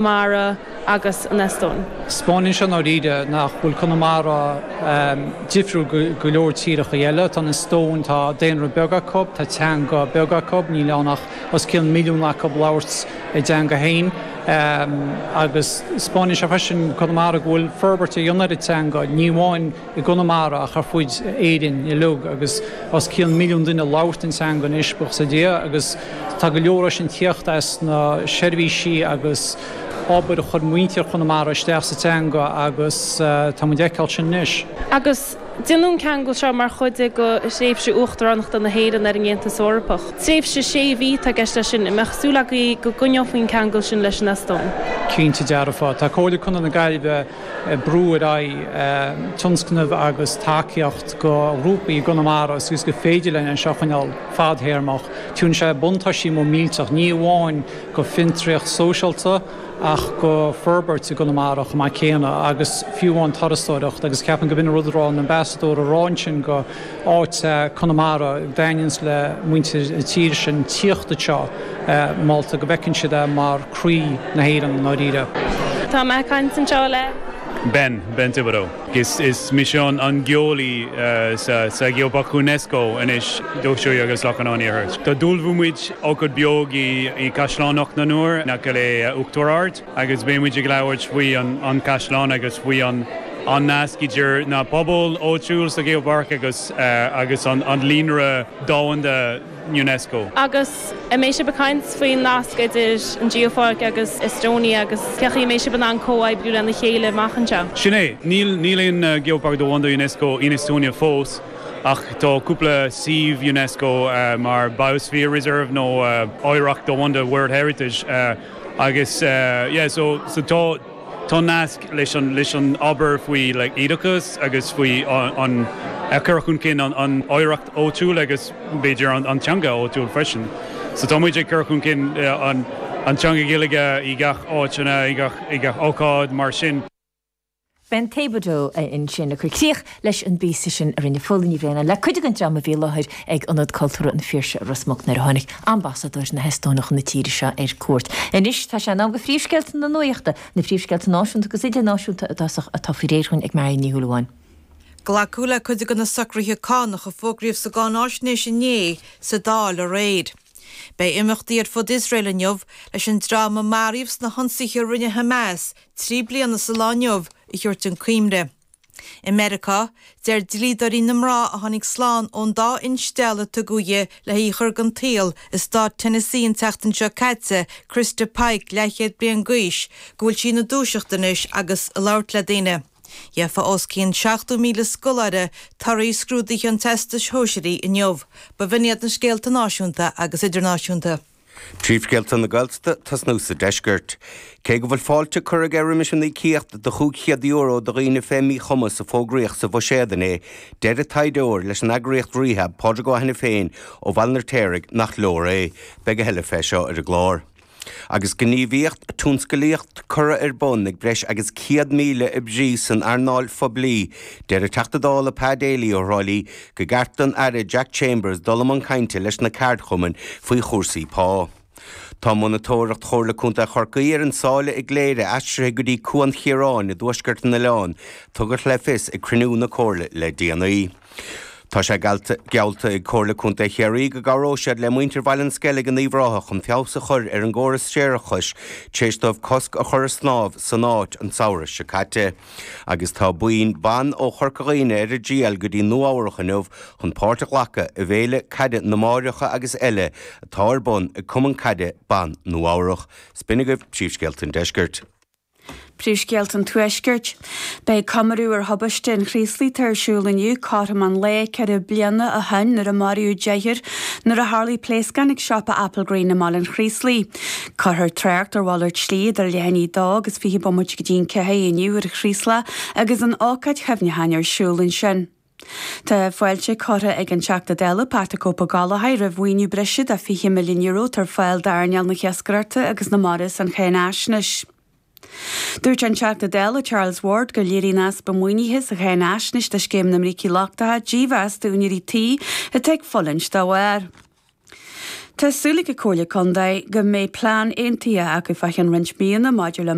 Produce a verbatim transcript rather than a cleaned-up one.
Mara agus an Eastóin. 'Spáineann sé i ndáiríre nach bhfuil Conamara difriúil go leor tíreacha eile. Tá an Eastóin, tá daonra beag acu, tá teanga beag acu, níl ann ach os cionn milliún acu labhairt a dteanga féin. Agus 'spáineann sé freisin Conamara go bhfuil forbairt á dhéanamh ar an teanga, ní amháin i gConamara ach ar fud Éirinn uilig agus os cionn milliún duine labhairt an teanga anois, buíochas le Dia, agus tá go leor sin ag tíocht as na seirbhísí agus obair a chuir muintir Chonamara isteach sa teanga agus tá muid ag feiceáil sin anois. Agus déanadh an ceangal seo mar chuid de thréimhse uachtaránachta na hÉireann ar an Aontas Eorpach. Tréimhse sé mhí atá i gceist leis sin, an mbeadh súil agaibh go gcoinneofaí an ceangal sin leis an Eastóin? Cinnte dearfa. Tá Comhairle Contae na Gaillimhe ag brú ar aghaidh tionscnamh agus tacaíocht go ghrúpaí i gConamara agus gur féidir linn é seo a choinneáil fadthéarmach. Tugann sé buntáistí mór millteach, ní amháin go fiontraíocht sóisialta ach go forbairt i gConamara chomh maith céanna agus fiú amháin turasóireacht agus ceapaim go b'in an rud a raibh an ambasadóir a rá ansin go áit Conamara a dtaitníonns le muintir na tíre sin tíocht anseo molta go bhfeiceann siad é mar croí na hÉireann i ndáiríre. Tá mé ag caint anseo le. Ben, Ben Thibodeau. Is is mise an an geolaí sa sa Gheopháirc UNESCO anois Dumhcha Suaighe agus Loch an Iarthair. Tá d'ullmhú muid ócáid beag i i Caisleán Ucht na nIúr in aice le Uachtar Ard agus beidh muid ag labhairt faoi an an caisleán agus faoi an an nasc idir na pobail áitiúil sa Gheopháirc agus agus an an líonra domhanda UNESCO. Agus an mbeidh sibh ag caint faoin nasc idir an Geopháirc agus Estonia agus cén chaoi a mbeidh sibh in ann comhoibriú lena chéile amach anseo? Sin é. Níl níl aon Geopháirc Domhanda UNESCO in Estonia fós ach tá cúpla suíomh UNESCO mar Biosphere Reserve nó Oidhreacht Domhanda World Heritage agus yeah so so tá Tá nasc leis an leis an obair faoi like oideachas agus faoi an an cur chun cinn an an oidhreacht áitiúil agus b'fhéidir an an teanga áitiúil freisin. So tá muid ag cur chun cinn an an teanga Ghaeilge i gach áiteanna i gach i gach ócáid mar sin. Ben Thibodeau ansin ag cur críoch leis an bpíosa sin a rinne Fódhla Ní Bhraonáin le cuid den dream a bhí i láthair ag Ionad Cultúrtha an Phiarsaigh i Ros Muc nuair a tháinig ambasadóir na hEastóine chun na tíre seo ar cuairt. Anois tá sé in am do phríomhscéalta na nuachta, na príomhscéalta náisiúnta agus idirnáisiúnta i dtosach atá faoi réir dhúinn ag Marion Ní Shúilleabháin. Glacadh le cuid de na socruithe cánach a fógraíodh sa gcáináisnéis inné sa Dáil aréir. Beidh imeachtaí ar fud Iosrael inniu leis an dream a maraíodh sna hionsaithe a rinne Hamas trí bliana sa lá inniu a thabhairt chun cuimhne. I Meiriceá, deir dlíodóirí na mná a tháinig slán ón dá instealladh a tugadh di le hí a chur den tsaol i stát Tennessee an tseachtain seo caite, Christa Pike, leathchéad bliain d'aois, go bhfuil sí ina dúiseacht anois agus ag labhairt le daoine. Gheofa os cionn seachtó míle scoláire torthaí scrúduithe an Teastais Shóisearaigh inniu. B'in iad na scéalta náisiúnta agus idirnáisiúnta. Príomhscéalta na Gaeltachta tosnú sa deisceart. Cé go bhfuil fáilte curtha aige roimis an íocaíocht de chúig chéad euro do dhaoine fé mhíchumas a fógraíodh sa bhuiséad inné, deir an taighdeoir leis an eagraíocht Rehab, Pádraig Ó hAiniféin ó Bhaile an Fheirtéaraigh, nach leor é. Beidh a thuilleadh fé seo ar an gclár. Agus gníomhaíocht tionsclaíoch curtha ar bun ag breis agus céad míle oibrí san earnáil phoiblí, deir an Teachta Dála Pa Daly ó Thrá Lí go gceart don Aire Jack Chambers dul i mbun cainte leis na ceardchumainn faoi chúrsaí pá. Tá monatóireacht Chomhairle Contae Chorcaí ar an sáile i gCléire aistrithe go dtí Cuan Chiaráin i dtuaisceart an oileáin, tugadh le fios ag cruinniú na Comhairle le déanaí. Tá sé geallta ag Comhairle Contae Chiarraí go gcabhróidh siad le muintir Bhaile an Sceilg in Uíbh Ráthach chun feabhas a chur ar an gcóras séarachais tar éis dóibh cosc a chur ar snámh san áit an samhradh seo caite. Agus tá buíon ban ó Chorca Dhuibhne ar a dtriall go dtí Nua Eabhrach inniu chun páirt a ghlacadh i bhFéile Caide na Máithreacha agus Eile atá ar bun ag Cumann Caide Ban Nua Eabhrach. 'S b'in agaibh príomhscéalta an deiscirt. Príomhscéalta an Tuaiscirt. Beidh comóradh ar thubaiste an Chraoslaigh ar siúl inniu, cothrom an lae ceithre bliana ó shin nuair a maraíodh deichniúr nuair a tharlaigh pléascán ag siopa Applegreen i mBaile an Chraoslaigh. Cuirfear trácht ar mhalairt slí idir leath i ndiaidh a dó agus fiche bomaite go dtí an ceathair inniu ar an Chraoslach agus an ócáid chuimhneacháin ar siúl ansin. Tá fáilte curtha ag an Teachta Dála Patrick Ó Gallchóir roimh mhaoiniú breise de fiche milliún euro atá ar fáil d'earnáil na hiascaireachta agus na mara san cháinaisnéis. Dúirt an Teachta Dála Charles Ward gur léiríonn easpa maoinithe sa cháinaisnéis do Scéim na mBrící Lochtacha dímheas d'úinéirí tí atá ag fulaingt dá bharr. Tá súil ag an Chomhairle Contae go mbeidh plean aontaithe acu fá cheann roinnt míonna maidir le